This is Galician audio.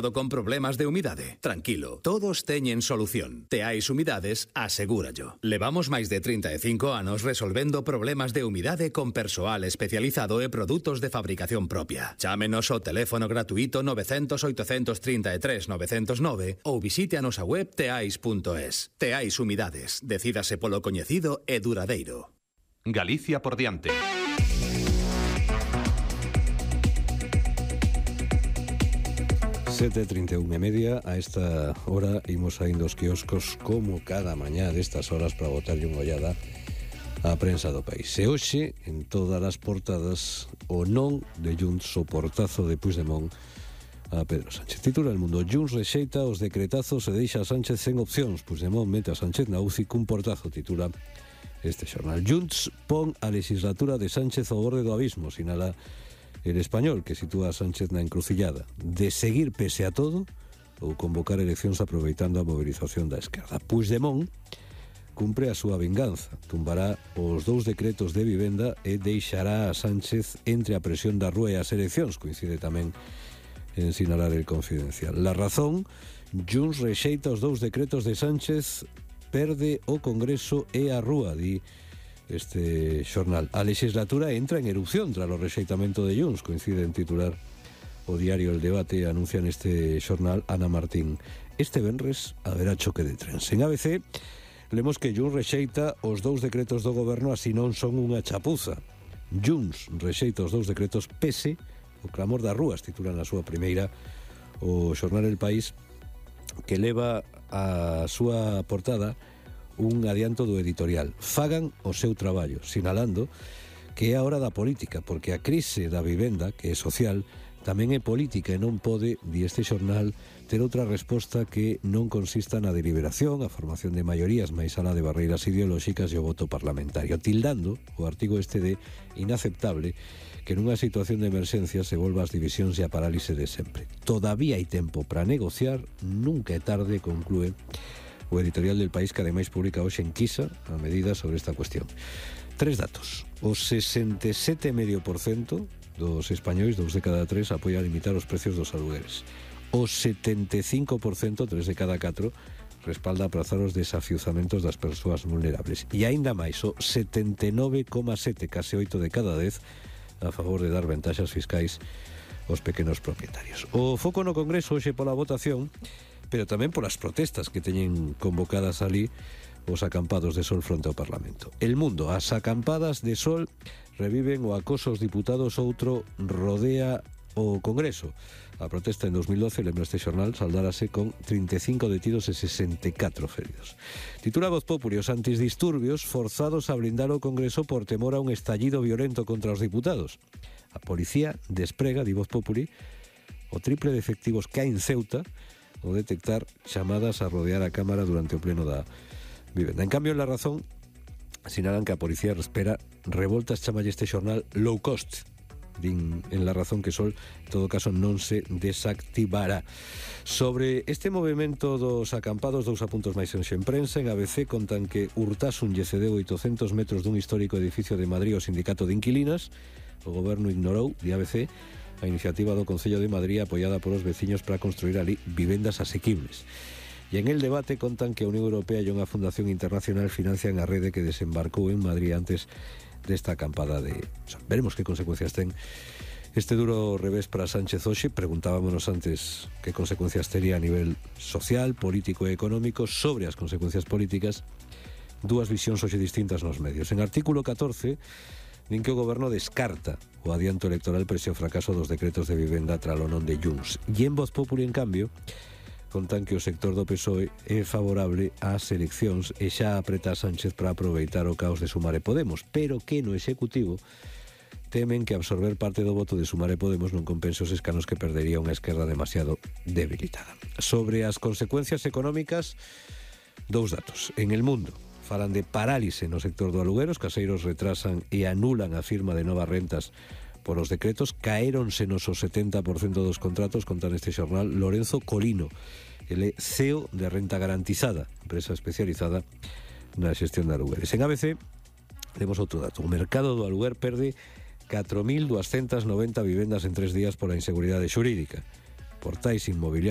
con problemas de humidade. Tranquilo, todos teñen solución. Teais Humidades asegúrallo. Levamos máis de 35 anos resolvendo problemas de humidade con persoal especializado e produtos de fabricación propia. Chámenos ao teléfono gratuito 900 833 909 ou visite a nosa web teais.es. Teais Humidades. Decídase polo coñecido e duradeiro. Galicia por diante. 7:31:30. A esta hora imos saindo os quioscos como cada mañá destas horas para botarlle unha ollada á prensa do país. E hoxe, en todas as portadas, o non de Junts, o portazo de Puigdemont a Pedro Sánchez. Titula El Mundo: Junts rexeita os decretazos e deixa a Sánchez sen opcións. Puigdemont mete a Sánchez na UCI cun portazo, titula este xornal. Junts pon a legislatura de Sánchez ao borde do abismo, sinala El Español, que sitúa a Sánchez na encrucillada de seguir pese a todo ou convocar eleccións aproveitando a mobilización da esquerda. Puigdemont cumpre a súa vinganza, tumbará os 2 decretos de vivenda e deixará a Sánchez entre a presión da rúa e as eleccións, coincide tamén en sinalar El Confidencial. La Razón: Junts rexeita os 2 decretos de Sánchez, perde o Congreso e a rúa, di este xornal. A legislatura entra en erupción tras o rexeitamento de Junts, coincide en titular o diario El Debate, anuncia neste xornal Ana Martín. Este venres haberá choque de trens. En ABC lemos que Junts rexeita os 2 decretos do goberno, así non son unha chapuza. Junts rexeita os 2 decretos pese o clamor das rúas, titula na súa primeira o xornal El País, que leva a súa portada un adianto do editorial: fagan o seu traballo, sinalando que é a hora da política, porque a crise da vivenda, que é social, tamén é política e non pode, di este xornal, ter outra resposta que non consista na deliberación, a formación de maiorías máis alá de barreiras ideolóxicas e o voto parlamentario, tildando o artigo este de inaceptable que nunha situación de emerxencia se volva as divisións e a parálise de sempre. Todavía hai tempo para negociar, nunca é tarde, conclúe o editorial del País, que ademais publica hoxe en Quisa a medida sobre esta cuestión. 3 datos. O 67,5% dos españois, 2 de cada 3, apoia limitar os precios dos alugueres. O 75%, 3 de cada 4, respalda aprazar os desafiuzamentos das persoas vulnerables. E aínda máis, o 79,7, case 8 de cada 10, a favor de dar ventaxas fiscais aos pequenos propietarios. O foco no Congreso hoxe pola votación, pero tamén polas protestas que teñen convocadas ali os acampados de sol fronte ao Parlamento. El Mundo: as acampadas de sol reviven o acoso aos diputados, outro rodea o Congreso. A protesta en 2012, lembra este xornal, saldárase con 35 detidos e 64 feridos. Titula Voz Populi: os antidisturbios forzados a blindar o Congreso por temor a un estallido violento contra os diputados. A policía desprega, di Voz Populi, o triple de efectivos que hai en Ceuta o detectar chamadas a rodear a Cámara durante o pleno da vivenda. En cambio, en La Razón sinalan que a policía espera revoltas, chamalle este xornal low cost. Din en La Razón que Sol, en todo caso, non se desactivará. Sobre este movimento dos acampados, 2 apuntos máis en prensa. En ABC contan que Urtasun lle cedeu 800 metros dun histórico edificio de Madrid ao sindicato de inquilinas. O goberno ignorou, di ABC, a iniciativa do Concello de Madrid apoiada polos veciños para construir ali vivendas asequibles. E en El Debate contan que a Unión Europea e unha fundación internacional financian a rede que desembarcou en Madrid antes desta acampada de sol. Veremos que consecuencias ten este duro revés para Sánchez hoxe. Preguntábamos antes que consecuencias tería a nivel social, político e económico. Sobre as consecuencias políticas, 2 visións hoxe distintas nos medios. En artículo 14 din que o goberno descarta o adianto electoral prese o fracaso dos decretos de vivenda tralo non de Junts. E en Voz Populi, en cambio, contan que o sector do PSOE é favorable ás eleccións e xa apreta a Sánchez para aproveitar o caos de Sumar e Podemos, pero que no Executivo temen que absorber parte do voto de Sumar e Podemos non compense os escanos que perdería unha esquerda demasiado debilitada. Sobre as consecuencias económicas, 2 datos. En El Mundo falan de parálise no sector do aluguero, os caseiros retrasan e anulan a firma de novas rentas por os decretos, caéronsenos o 70% dos contratos, conta neste xornal Lorenzo Colino, ele CEO de Renta Garantizada, empresa especializada na xestión de alugueres. En ABC temos outro dato: o mercado do aluguer perde 4.290 vivendas en 3 días pola inseguridade xurídica. Portais inmobiliarios